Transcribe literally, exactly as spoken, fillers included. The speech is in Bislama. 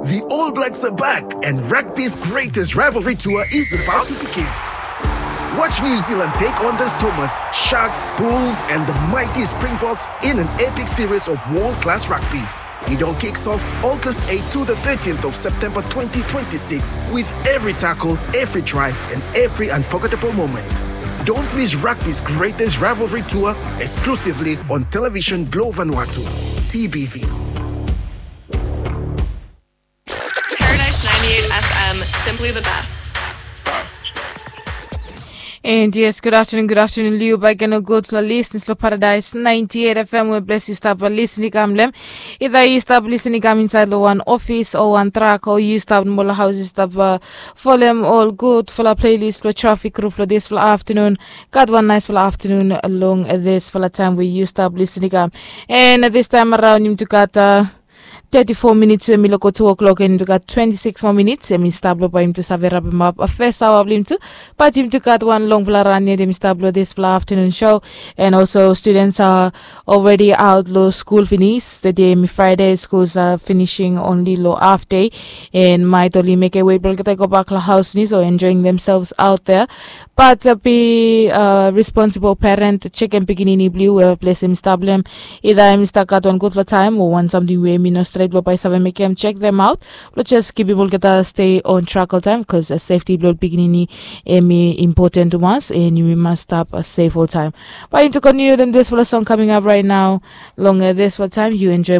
The All Blacks are back, and rugby's greatest rivalry tour is about to begin. Watch New Zealand take on the Stormers, Sharks, Bulls, and the mighty Springboks in an epic series of world class rugby. It all kicks off August eighth to the thirteenth of September twenty twenty-six, with every tackle, every try, and every unforgettable moment. Don't miss rugby's greatest rivalry tour, exclusively on Television Globe Vanuatu, T B V. Paradise ninety-eight F M, simply the best. And yes, good afternoon, good afternoon, Liu. Baik gen o gud fala listeners lo Paradise ninety-eight F M, we ples yu stap listening kam lem. Either yu stap listening kam inside lo wan office o wan truck, o yu stap mo lo haus, yu stap uh, folem ol gud fala playlist lo traffic group lo this fala afternoon. Gat wan nice fala afternoon long this fala time we yu stap listening kam. And this time around, yumi tu gat uh, thirty-four minutes we mi loko two o'clock, and yumi tu gat twenty-six more minutes. Yumi stap lo bae yumi tu save rapim ap uh, first hour blo yumi tu. But yumi tu gat wan longfala ran yet, yumi stap lo this fala afternoon show. And also students are already out lo school finis. Today mi Friday, schools are finishing only lo half day. And maet oli mekem wei blo olgeta i go bak lo haus finis o enjoying themselves out there. But uh, be uh, responsible parent, chekem pikinini blo yu we ples yumi stap lo hem. Either yumi stap gat wan gudfala taem o wan samting we yumi no stret blo bae save mekem, check them out. Blo just kipim olgeta stay on track oltaem, bikos uh, safety blo pikinini hemi important to us, and yumi mas stap uh, safe oltaem. Bae yumi tu kontiniu wetem this fala song coming up right now. Long uh, this fala taem yu enjoy